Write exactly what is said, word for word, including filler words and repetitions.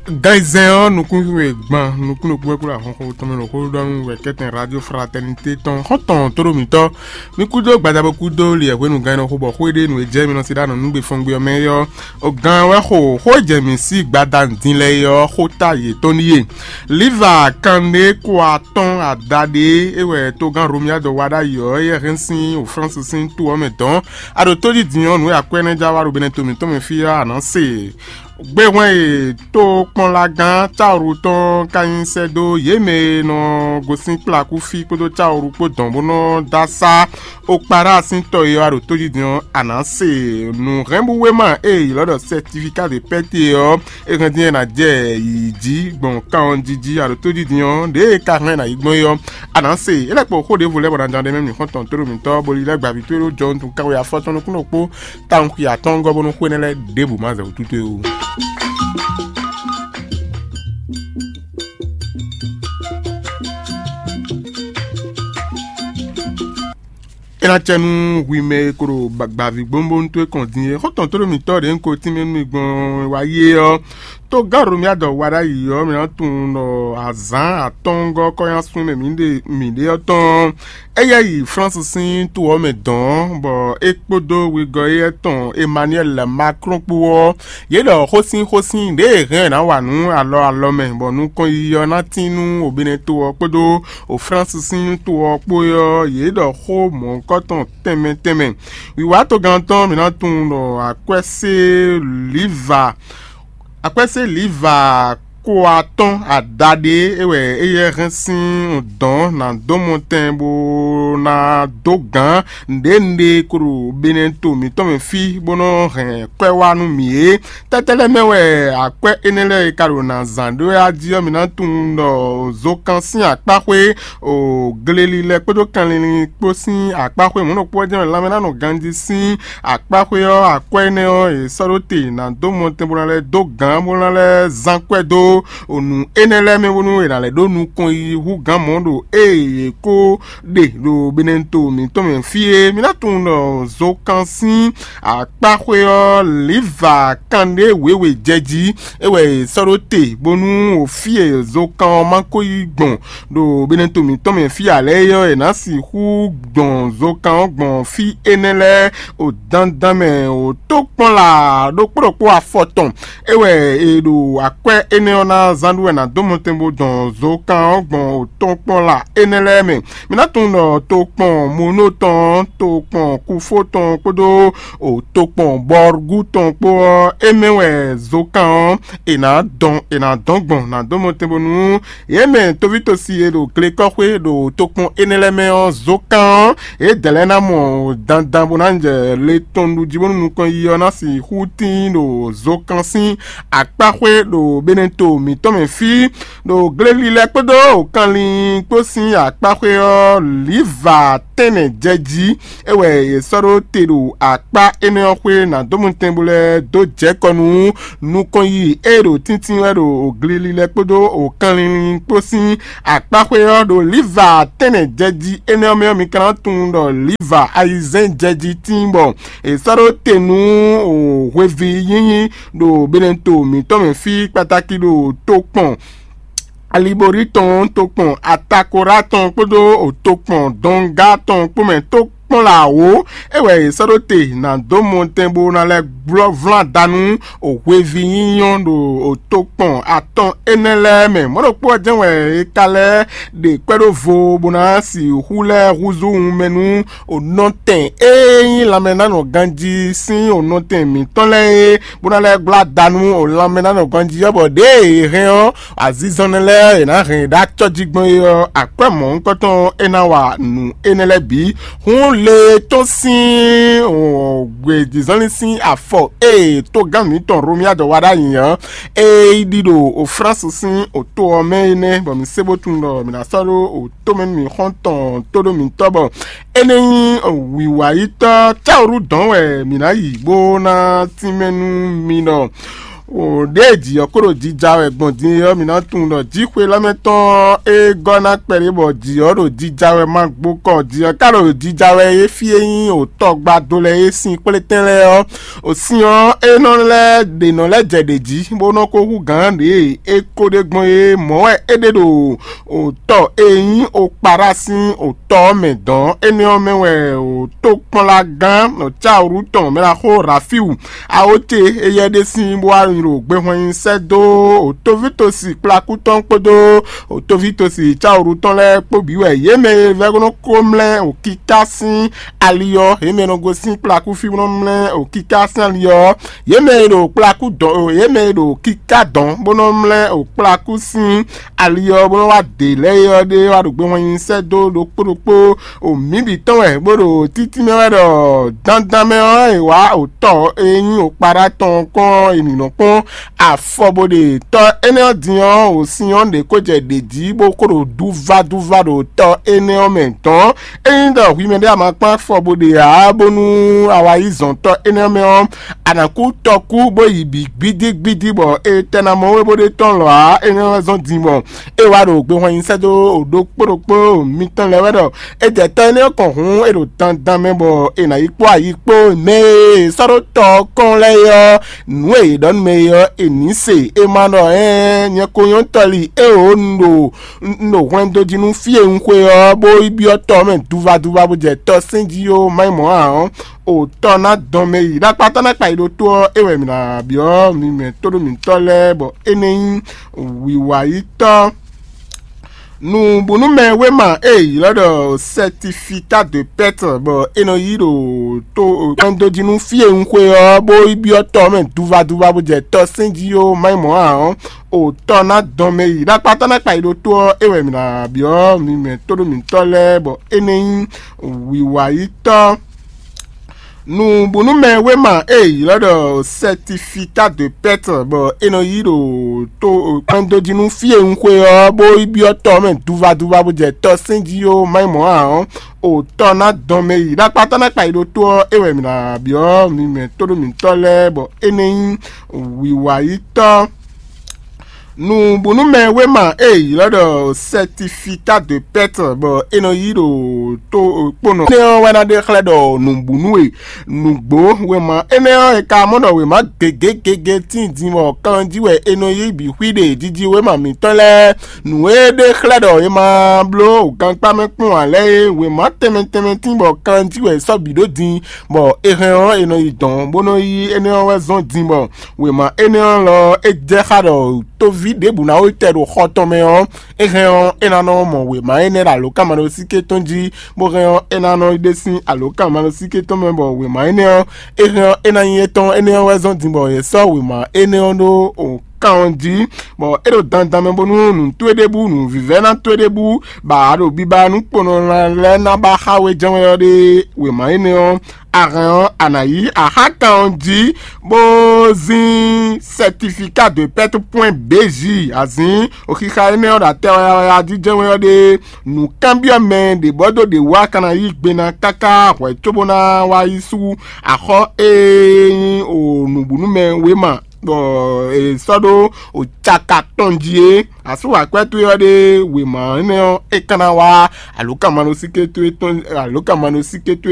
Gan zɛn ɔ́, nukún e gban nukún ɖokpó wɛ kúɖo ahɔnxó tɔn mɛ ɖo xó ɖɔ nú wɛ kɛ́tɛn Radio Fraternité tɔn xɔ́ntɔn tóɖó mǐtɔn. Mi kúdó gbadabo kúdó liɛ hwenu gan nɔ xo bɔ xó e ɖe nǔ e jɛ mi nɔ se ɖa nɔ nǔgbe fɔngbe ɔ́ mɛ é ɔ́, o gan wɛ xo xó e jɛ mǐ sí gbada din lɛ́ɛ é ɔ́ xó ta yětɔn ɖíe. Liva kanɖé kó atɔ́n adaɖé é wɛ togán Romuald wa ɖ'ayǐ ɔ́, éyɛ́ hɛn sín o Flánsi sín to ɔ́ mɛ dɔn. A ɖo tójí din ɔ́, nǔ e akwɛ́ énɛ́ ja wá ɖo Benɛto mǐtɔn mɛ fí ɔ́, a nǎ se. Gbéhwɛ́n e tókpɔ́nlagán Cáwuru tɔn ka nyi sɛ́ dó yě mɛ e nɔ gosín kplakúfí kpódó Cáwuru kpó dɔn bó nɔ dó asá Okpaɖa sín tɔ e wá ɖo tójí din ɔ́, a nǎ se. Nǔhɛnbúwéma e è ylɔ́ ɖɔ certificat de perte ɔ́, é hɛn dín é ná jɛ yǐyí jí gbɔn kanwɔjiji a ɖo tójí din ɔ́, ɖěe é ka hɛn ná yi gbɔn é ɔ́, a nǎ se. É lɛ́ kpo xó ɖěvo lɛ́ɛ bɔ ná ján ɖ'é mɛ mǐ xɔ́ntɔn tóɖó mǐtɔn bó lílɛ́ gbǎví towe ɖó jɔntu kanwe afɔtɔn nukúnnú kpó tawun xi atɔ́ɔ́ngɔ́ bónú xwé énɛ́ lɛ́ɛ ɖěbǔ ma zɛ wǔ tútú ó. É ná cɛ nú hwi mɛ e ko ɖo gbǎví gbóngbónú towe kɔn din é. Xɔ́ntɔn tóɖó mǐtɔn ɖě un ko tínmɛ nú mi gbɔn wá yi é ɔ́, tó gán Romiadɔ wa ɖ'ayǐ ɔ́, mǐ ná tunwun ɖɔ azǎn atɔ́ɔ́ngɔ́ kɔ́nyásun e mɛ mǐ ɖe mǐ ɖe ɔ́ tɔn ɔ́, é yɛ yi Flánsi sín to ɔ́ mɛ dɔ̌n, bɔ é kpódó wegɔ́ éyɛ́ tɔn Emmanuel Macron kpó ɔ́, yě ɖɔ xósínxósín ɖěe hɛn ɛ ná wa nǔ alɔ alɔ mɛ, bɔ nukɔn yiyi ɔ́ ná tín nú Obɛ́nɛto ɔ́ kpódó o Flánsi sín to ɔ́ kpó é ɔ́, yě ɖɔ xó mɔ̌hunkɔtɔn tɛnmɛ tɛnmɛ. Wǐwá togán tɔn mǐ ná tunwun ɖɔ akwɛ́sé Liva, akwɛ́sé Liva ko atɔ́n adaɖé é wɛ éyɛ́ hɛn sín dɔ̌n ná dó mɔtɛn bó ná dó gǎn nǔɖé nǔɖé ko ɖo Benɛto mǐtɔn mɛ fí bó nɔ́ hɛn kwɛ́ wá nú mǐ é. Tɛ́tɛ́ lɛ́ɛ mɛ wɛ akwɛ́ énɛ́ lɛ́ɛ e ka ɖo nǎ zán ɖó wɛ a jí ɔ́, mǐ ná tunwun ɖɔ zokan sín akpáxwé o gleli lɛ́ɛ kpódó kanlin kpó sín akpáxwé mɔ̌ ɖokpó ɔ́ jɛ́n wɛ lanmɛ ná nɔ ganjí sín akpáxwé ɔ́, akwɛ́ énɛ́ ɔ́, è sɔ́ ɖó te ná dó mɔtɛn bó ná lɛ́ dó gǎn bó ná lɛ́ zán kwɛ́ dó nǔ énɛ́ lɛ́ɛ mɛ bónú è nǎ lɛ́ ɖó nukɔn yi hú gǎn mɔ̌ ɖo ée è ko ɖe ɖo Benɛto mǐtɔn mɛ fí é. Mi ná tunwun ɖɔ zokan sín akpáxwé ɔ́, Liva kanɖé wěwe jɛ jí, é wɛ è sɔ́ ɖó te bónú o fí e zokan ɔ́ ma ko yi gbɔn ɖo Benɛto mǐtɔn mɛ fí ǎ lɛ́ɛ é ɔ́, è nǎ sixú gbɔn zokan ɔ́ gbɔn fí énɛ́ lɛ́ɛ o dandan mɛ o tó kpɔ́n la ɖokpó ɖokpó afɔ tɔn. É wɛ è ɖo akwɛ́ énɛ́ ɔ́ ná zán ɖu wɛ ná dó mɔtɛn bó dɔn zokan ɔ́ gbɔn o tɔn kpɔ́n la énɛ́ lɛ́ɛ mɛ. Mi ná tunwun ɖɔ tokpɔn Monó tɔn, tokpɔn Kufó tɔn kpódó o tokpɔn Bɔrgú tɔn kpó ɔ́, é mɛ wɛ zokan ɔ́ è nǎ dɔn è nǎ dɔn gbɔn ná dó mɔtɛn bónú yě mɛ tovítɔ́si e ɖo glekɔ́xwé ɖo tokpɔn énɛ́ lɛ́ɛ mɛ ɔ́, zokan ɔ́, yědɛɛ lɛ́ɛ ná mɔ dandan bó ná jɛ le tɔn ɖu jí bónú nukɔn yiyi ɔ́ ná sixú tíin ɖo zokan sín akpáxwé ɖo Benɛto mǐtɔn mɛ fí, ɖo gleli lɛ́ɛ kpódó kanlin kpó sín akpáxwé ɔ́, Liva tɛ́nnɛ jɛ jí. É wɛ è sɔ́ ɖó te ɖo akpá énɛ́ ɔ́ xwé ná dó mɔtɛn bó lɛ́ dó jɛ kɔ nú nukɔn yiyi e ɖo tíntín wɛ ɖo gleli lɛ́ɛ kpódó o kanlin kpó sín akpáxwé ɔ́ ɖo Liva tɛ́nnɛ jɛjí énɛ́ ɔ́ mɛ ɔ́, mi ka ná tunwun ɖɔ Liva ayizɛ́n jɛjí tíin bɔ è sɔ́ ɖó te nú hweví nyínyí ɖo Benɛto mǐtɔn mɛ fí kpatáki ɖo tokpɔn Aliborí tɔn, tokpɔn Atakorá tɔn kpódó tokpɔn Dɔngá tɔn kpó mɛ tó kpɔ́n lě awǒ. É wɛ è sɔ́ ɖó te ná dó mɔtɛn bó ná lɛ́ glɔ́ vlán da nú hweví nyínyɔ́ ɖo tokpɔn atɔn énɛ́ lɛ́ɛ mɛ. Mɔ̌ ɖokpó ɔ́ jɛ́n wɛ è ka lɛ́ ɖe kwɛ́ ɖó vo bó ná sixú lɛ́ húzú wunmɛ nú nɔtɛn e nyí lanmɛ ná nɔ ganjí sín nɔtɛn mǐtɔn lɛ́ɛ é, bó ná lɛ́ gbla da nú lanmɛ ná nɔ ganjí ɔ́, bɔ ɖěe è hɛn ɔ́, azinzɔnnɔ lɛ́ɛ è nǎ hɛn ɖó acɔ́ jí gbɔn é ɔ́, akwɛ́ mɔ̌hunkɔtɔn ɔ́ é ná wa nǔ énɛ́ lɛ́ɛ bǐ. Hǔn le tɔn sín gbějǐzɔnlin sín afɔ e togán mǐtɔn Romiadɔ wa ɖ'ayǐ ɔ́, é yi ɖi ɖo Flánsi sín to ɔ́ mɛ é nɛ́, bɔ mǐ se bó tunwun ɖɔ mǐ ná sɔ́ ɖó tomɛ nú mǐ xɔ́ntɔn tóɖó mǐtɔn bɔ é nɛ́ nyí wǐwayítɔ́ táwǔɖu dɔ̌n wɛ mǐ ná yi bó ná tínmɛ nú mi ɖɔ Wǒ ɖěe jǐ ɔ́ ko ɖo jija wɛ gbɔn din é ɔ́, mǐ ná tunwun ɖɔ jǐxwé lɔ́ mɛ tɔn e gɔ́ ná kpɛɖé bɔ jǐ ɔ́ ɖo jija wɛ ma gbo kɔ. Jǐ ɔ́ ka ɖo jija wɛ é fí e nyí wǒ tɔgbado lɛ́ɛ é sín kplétɛn lɛ́ɛ ɔ́. Wǒ sin ɔ́, é nɔ lɛ́ ɖě nɔ lɛ́ jɛ ɖě jí, bó nɔ́ ko hú gǎn ɖě e é ko ɖe gbɔn é mɔ̌ wɛ é ɖe ɖo wǒ tɔ e nyí Okpaɖa sín wǒ tɔ ɔ́ mɛ dɔn. Énɛ́ ɔ́ mɛ wɛ wǒ tó kplɔ́nlagán Cawǔɖu tɔn mɛ ɖaxó Rafiwu Awóce éyɛ́ ɖe sín bó wá nyi ɖo gbehwɛn nyi sɛ́ dó Otovitosi kplakú tɔn kpódó Otovitosi Cawǔɖu tɔn lɛ́ɛ kpó bǐ wɛ. Yě mɛ e vɛ́ nɔ ko mlɛ́ wǒkíká sín ali ɔ́, yě mɛ e nɔ gosín kplakú fí bó nɔ mlɛ́ wǒkíká sín ali ɔ́, yě mɛ e ɖo kplakú dɔn, yě mɛ e ɖo kíká dɔn bó nɔ mlɛ́ wǒkplakú sín ali ɔ́ bó nɔ́ wá dě lɛ́ɛ é ɔ́ ɖe wá ɖo gbehwɛn nyi sɛ́ dó ɖokpó ɖokpó. O mǐ bǐ tɔn wɛ bó ɖo títí mɛ wɛ ɖɔ dandan mɛ ɔ́ è wǎ o tɔ e nyí o kpaɖá tɔn kpɔ́n è nǐ nɔ kpɔ́n afɔ bó ɖe tɔ énɛ́ ɔ́ din ɔ́, o sin ɔ́ ɖě ko jɛ ɖě jí bó ko ɖo duvadúva ɖo tɔ énɛ́ ɔ́ mɛ dɔn. Ényí ɖɔ hwi mɛ ɖé a ma kpɔ́n afɔ bó ɖe ǎ bónú a wá yi zɔn tɔ énɛ́ ɔ́ mɛ ɔ́, a nǎ kú tɔkú bó yi bǐ gbídígbídí bɔ è tɛ ná mɔ wé bó ɖe tɔn lɔ̌ ǎ. Énɛ́ ɔ́ zɔ́n din bɔ é wá ɖo gbehwan nyi sɛ́ dó ɖokpó ɖokpó mitɔn lɛ́ɛ wɛ ɖɔ é jɛ tɔ énɛ́ ɔ́ kɔn hǔn é ɖo dandan mɛ bɔ è nǎ yi kpó ayi kpó mɛ e è sɔ́ ɖó tɔ ɔ́ kɔn lɛ́ɛ é ɔ́, nǔ e è ɖɔ nú mɛ é ɔ́, è nǐ se. È ma ɖɔ ɛɛn nyɛ ko nyɔ́ tɔli éeǒ un ɖo un ɖo hwlɛndo jí nú fí e un xwe ɔ́, bó yi byɔ́ tɔ ɔ́ mɛ duvaduva bó jɛ tɔ sɛ́n jí ó, má nyí mɔ̌ ǎ ɔ́, o tɔ ná dɔn mɛ yi ɖakpatɔ́ ná kpa yi ɖó tó ɔ́, é wɛ mǐ ná byɔ́ mi mɛ tóɖó mǐtɔn lɛ́ɛ bɔ é nɛ́ nyí wǐwayítɔ́. Nǔbúnúmɛ wéma e è ylɔ́ ɖɔ certificat de perte bɔ è nɔ yí ɖo tó kpɛ́ndó jí nú fí e un xwe ɔ́, bó yi byɔ́ tɔ ɔ́ mɛ duvaduva bó jɛ tɔ sɛ́n jí ó, má nyí mɔ̌ ǎ ɔ́, o tɔ ná dɔn mɛ yi ɖakpatɔ́ ná kpa yi ɖó tó ɔ́, é wɛ mǐ ná byɔ́ mi mɛ tóɖó mǐtɔn lɛ́ɛ bɔ é nɛ́ nyí wǐwayítɔ́. Nǔbúnúmɛ wéma e è ylɔ́ ɖɔ certificat de perte bɔ è nɔ yí ɖo tó kpɛ́ndó jí nú fí e un xwe ɔ́, bó yi byɔ́ tɔ ɔ́ mɛ duvaduva bó jɛ tɔ sɛ́n jí ó, má nyí mɔ̌ ǎ ɔ́, o tɔ ná dɔn mɛ yi ɖakpatɔ́ ná kpa yi ɖó tó ɔ́, é wɛ mǐ ná byɔ́ mi mɛ tóɖó mǐtɔn lɛ́ɛ bɔ é nɛ́ nyí wǐwayítɔ́. Nǔbúnúmɛ wéma e è ylɔ́ ɖɔ certificat de perte bɔ è nɔ yí ɖo tó kponɔ. Énɛ́ ɔ́ wɛ ná ɖe xlɛ́ ɖɔ nǔbúnú e nǔgbó wěma énɛ́ ɔ́ è ka mɔ ɖɔ wěma gěgé gěgé tíin din bɔ kan jí wɛ è nɔ yí bǐ xwí ɖe jiji wěma mǐtɔn lɛ́ɛ. Nǔ e ɖe xlɛ́ ɖɔ è ma bló gankpá mɛ kpɔ́n ǎ lɛ́ɛ é, wěma tɛnmɛ tɛnmɛ tíin bɔ kan jí wɛ è sɔ́ bǐ ɖó din, bɔ è hɛn ɔ́ è nɔ yi dɔ̌n bó nɔ yí énɛ́ ɔ́ wɛ zɔ́n din bɔ wěma énɛ́ ɔ́ lɔ é jɛ xá ɖɔ tóví ɖěbǔ ná wú tɛ ɖo xɔ tɔn mɛ ɔ́, é hɛn ɔ́, é ná nɔ mɔ wěma énɛ́ ɖo alǒkanmaɖósíké tɔn jí, bó hɛn ɔ́, é ná nɔ ɖe sín alǒkanmaɖósíké tɔn mɛ, bɔ wěma énɛ́ ɔ́, é hɛn ɔ́, é ná nyí étɔn. Énɛ́ ɔ́ wɛ zɔ́n din bɔ è sɔ́ wěma énɛ́ ɔ́ ɖó kan ɔ́ jí, bɔ é ɖo dandan mɛ bónú nǔ towe ɖěbǔ, nǔvívɛ́ná towe ɖěbǔ, bɔ a ɖo biba nú kponɔ lɛ́ɛ ná ba xá we jɛ́n wɛ ɔ́ ɖe wěma énɛ́ ɔ́, a hɛn ɔ́, a nǎ yí axákan ɔ́ jí, bó zín certificat de perte point B J, azǐn oxixa énɛ́ ɔ́ ɖo atɛ wayawaya jí jɛ́n wɛ ɔ́ ɖe. Nǔkanbyɔ́mɛ ɖě bɔ dó ɖě wú a ka ná yí gbe ná káká hwɛ̌ cóbó ná wá yi sú axɔ́ e nyí o nǔbúnúmɛ wéma bɔ è sɔ́ ɖó o caka tɔn jí é. Asú akwɛ́ towe ɔ́ ɖe wěma énɛ́ ɔ́, é ka ná wá alǒkanmaɖósíké towe tɔn alǒkanmaɖósíké towe